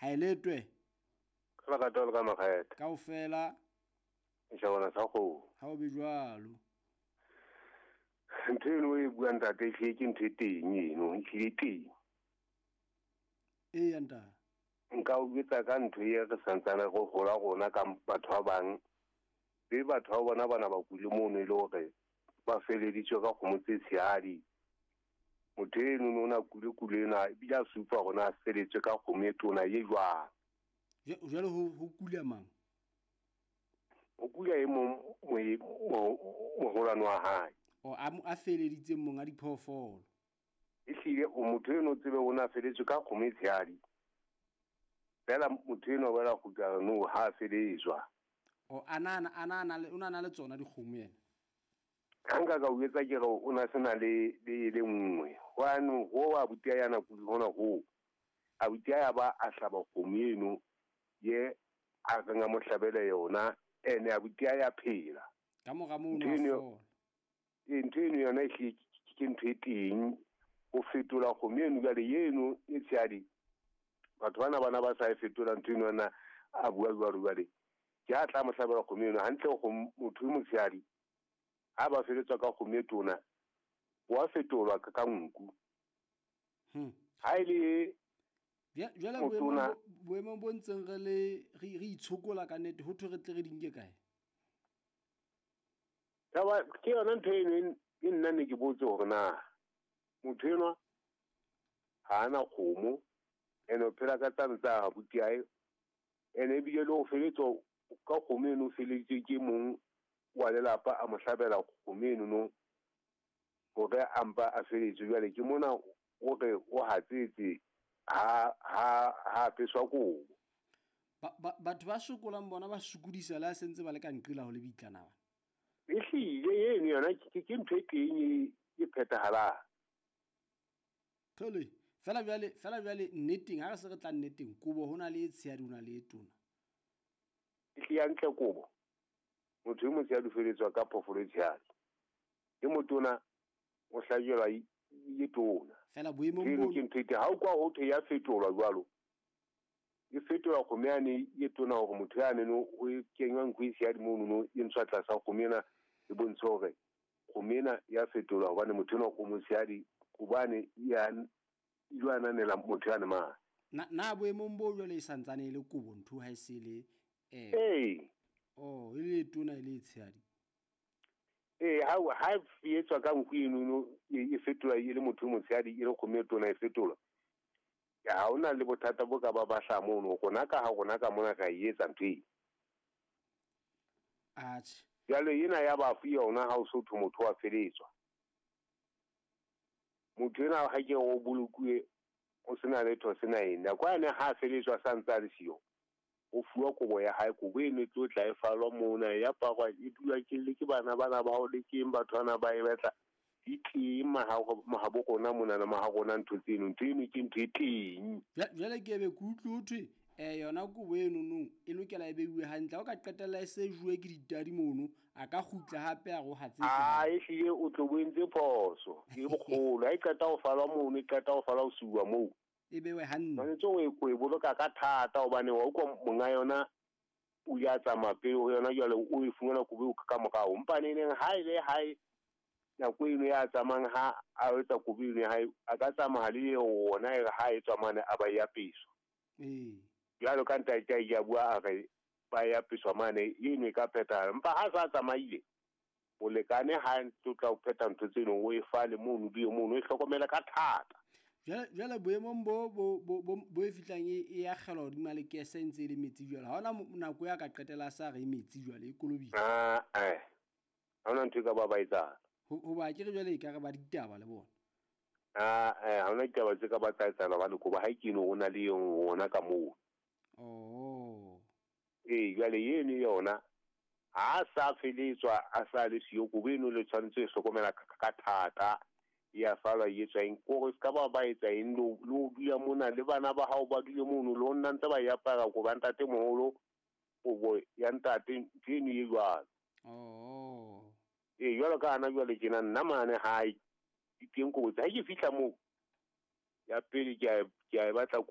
Haeletwe. Ka lerato le ka makgethe. Kaofela. Shabana sa kgomo. Ha o be jwalo. Ntho eno e buang ntate ehlile ke ntho e teng eno, ehlile e teng. Eya ntate. Nka o jwetsa ka ntho e re santsane re hola rona ka batho ba bang. Be batho ba bona bana ba kule mono e le hore ba feleditswe ka kgomo tse tshehadi. Motho eno no na kule kule ena ebile a supa hore na feletswe ka kgomo e tona e jwang. Jwale ho kula mang? Ho kula e mong moholwane wa hae. O a feleditseng monga diphoofolo. Ehlile o motho eno tsebe o na feletswe ka kgomo e tshehadi. Fela motho eno ba la kgutla no ha feletswa. O ana le tsona dikgomo yena. Ha nka ka o etsa ke re o na sena le le nngwe. Hwane ho wa butia yana kuli hona ho. A butia ya ba a hlaba kgomo eno ye a renga mohlabele yona ene a butia ya phela. Ka mora moo no fola. Ntho eno yona ehlile ke ntho e teng ho fetola kgomo eno jwale eno e tshehadi. Batho bana ba sa e fetola ntho eno na a bua jwalo jwale. Ke a tla mohlabela kgomo eno hantle go motho e motshehadi. Ha ba feletswa ka kgomo e tona wa fetolwa ka nku. Ha ile jwale boemong bo ntseng re le re itshokola ka nnete ho thwe re tle re di nke kae? Taba ke yona ntho eno e nna ne ke botse hore na motho enwa ha ana kgomo ene o phela ka tsane tsa abuti hae ene ebile le ho feletswa ka kgomo eno o feleditswe ke mong wa lelapa a mo hlabela kgomo eno no hore a mpa a feletswe. Jwale ke mona o re o hatsetse ha apeswa kobo. Batho ba sokolang bona ba sokodisa le ha sentse ba le ka nqela ho le bitlana bana. Ehlile eno yona ke ntho e teng e phethahalang. Thole fela jwale nneteng ha re se re tla nneteng kobo hona le e tshehadi hona le e tona. Ehlile hantle kobo. Motho e motshehadi o feletswa ka phoofolo e tshehadi. E motona o hlajelwa e tona. Fela boemong bo ke ntho e teng ha o kwa ho thwe ya fetolwa jwalo. E fetolwa kgomo yane e tona hore motho yane no o kenywa nku e tshehadi mono no e ntshwa tlasa kgomo ena e bontshe hore kgomo ena ya fetolwa hobane motho enwa o motshehadi hobane ya ile ananela motho yane mane. Na boemong bo jwale e santsane e le kobo ntho ha e se le ee. Oh, e le tona e le tshehadi. Ha e etswa ka nku eno e fetolwa e le motho motshehadi e le kgomo e tona e fetolwa. Ha hona le bothata bo ka ba bahla mono rona ka ha rona ka mona ra e etsa ntho eno. Atjhe. Jwale ena ya bafu yona ha o so thwe motho wa feletswa. Motho ena ha ke o bolokuwe o sena letho sena eng. Nako yane ha feletswa sa ntse a le siyo. O fuwa kobo ya hae, kobo eno e tlo tla e falwa mona ya parwa e dula ke le ke bana bana ba o le ke batho bana ba e batla. Di teng mahabo rona mona le maha rona ntho tseno, ntho eno ke ntho e teng. Jwale ke be ke utlwe ho thwe yona kobo eno no e lokela e beuwe hantle. Ha o ka qetella e se juwe ke ditadi mono, a ka kgutla hape a re o hatsetse. A ehlile o tlo bo entse phoso e bokgolo. Ha e qeta ho falwa mono, e qeta ho falwa ho siuwa moo. E bewe hantle. Tshwanetse o e boloka ka thata hobane wa utlwa monga yona o ya tsamaya pele ho yona jwale o e fumana kobo eo ka morao. Empa neneng ha e le hae nako eno ya tsamayang ha a etsa kobo eno ya hae, a ka tsamaya le yona e re ha e tswa mane a ba e apeswa. Jwalo ka ntate a bua a re ba e apeswa mane eno e ka phethahala. Empa ha sa tsamaile molekane ha ntse tla o phetha ntho tseno o e fale mono di mono e hlokomela ka thata. Jwale boemong bo e fihlang e akgelwa hodima lekese e ntse e le metsi jwale. Ha hona nako ya ka qetela sa re e metsi jwale e kolobile. Ha hona ntho e ka ba ba etsang. Hoba ke re jwale e ka re ba ditaba le bona. Ha hona ditaba tse ka ba tsa etsahala hobane kobo ha e kene ho na le yona ka moo. Oh. Jwale eno yona ha sa feletswa a sa le siyo kobo eno le tshwanetse e hlokomela ka thata. Ya falwa e etswa eng kore se ka ba ba etsa eng le ho dula mona le bana ba hao ba dule mono le ho nna ntse ba e apara kobo ya ntatemoholo, kobo ya ntate ntho eno e jwalo. Oh. Jwalo ka hana jwale tjena nna mane hae di teng kobo tsa ha ke fihla moo ya pele ke a e batla